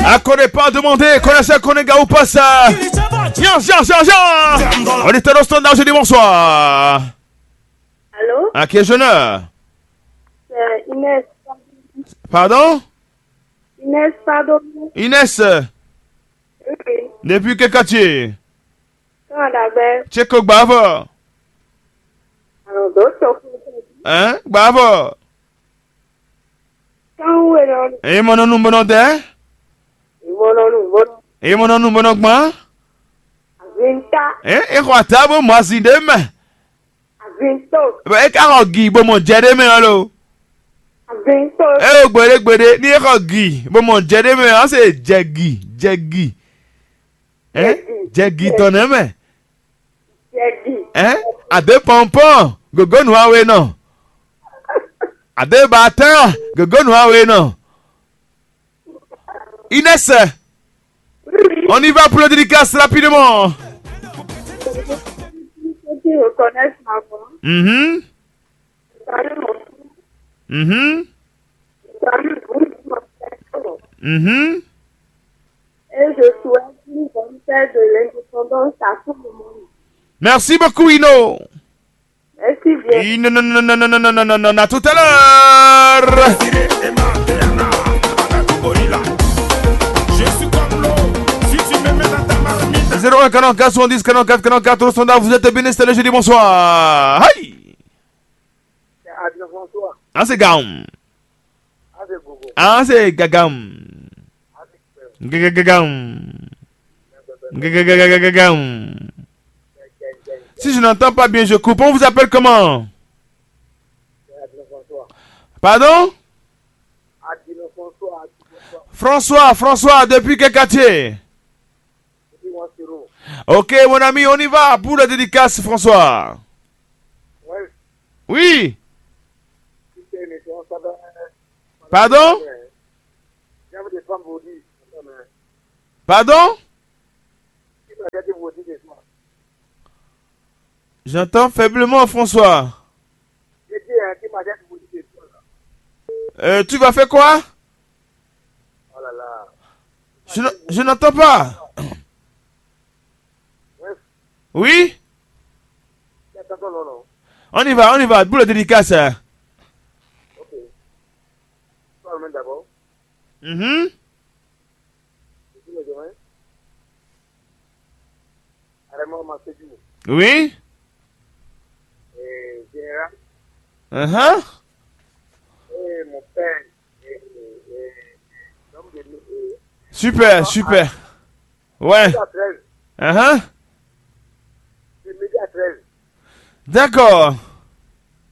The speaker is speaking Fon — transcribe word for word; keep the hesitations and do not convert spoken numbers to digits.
À quoi dépend demander, connaissez Konéga ou pas ça? Viens, viens, viens, viens. On est au standard, je dis bonsoir. Allô? À qui ai-je l'honneur? C'est Inès. Pardon? Inès, pardon. Inès, oui. Depuis quel quartier? Quand d'abord. Tcheko Gbavo. Alors, d'autres sont. Hein? Gbavo. Kan wú è nɔ ɖu. Eye mɔ nɔ nu bó nɔ dɛ. Ìmɔ nɔ nu bó nɔ. Eye mɔ nɔ nu bó nɔ gbɔn. Azinta. Ɛ e xɔ ata bó mɔ azin ɖé mɛ. Azinto. Bɔ e ka xɔ gi bó mɔ jɛ ɖé mɛ ɔ́ lo. Azinto. E o gbeɖé gbeɖé ní e xɔ gi bó mɔ jɛ ɖé mɛ ɔ́ se jɛ gi jɛ gi. Ɛ jɛ gi tɔn nɛ mɛ. Jɛ gi. Ɛ ade pɔnpɔn gogonu awe nɔ. Ade batán gogonu awe nɔ. Inès, on y va pour le dédicace rapidement. Ceux qui reconnaissent ma voix, mhm, salut mon frère, mhm, salut vous, mon frère. Mhm. Et je souhaite une bonne fête de l'indépendance à tout le monde. Merci beaucoup, Ino. Merci bien. Non, non, non, non, non, non, non, non, non, à tout à l'heure. Zéro un quarante-quatre soixante-dix quarante-quatre quarante-quatre, au standard, vous êtes bien installé, je dis bonsoir. Aïe. Ah, c'est gaum. Ah, c'est gagam. Gagagagam. Gagagagagam. Si je n'entends pas bien, je coupe. On vous appelle comment? Pardon? François, François, depuis quel quartier? Ok, mon ami, on y va pour la dédicace, François. Oui. Pardon? Pardon? J'entends faiblement, François. Euh, tu vas faire quoi? Je n-, je n'entends pas. Oui? On y va, on y va. Boule dédicace, hein. Mhm. Oui. Uh-huh. Super, super. Ouais. Uh-huh. D'accord.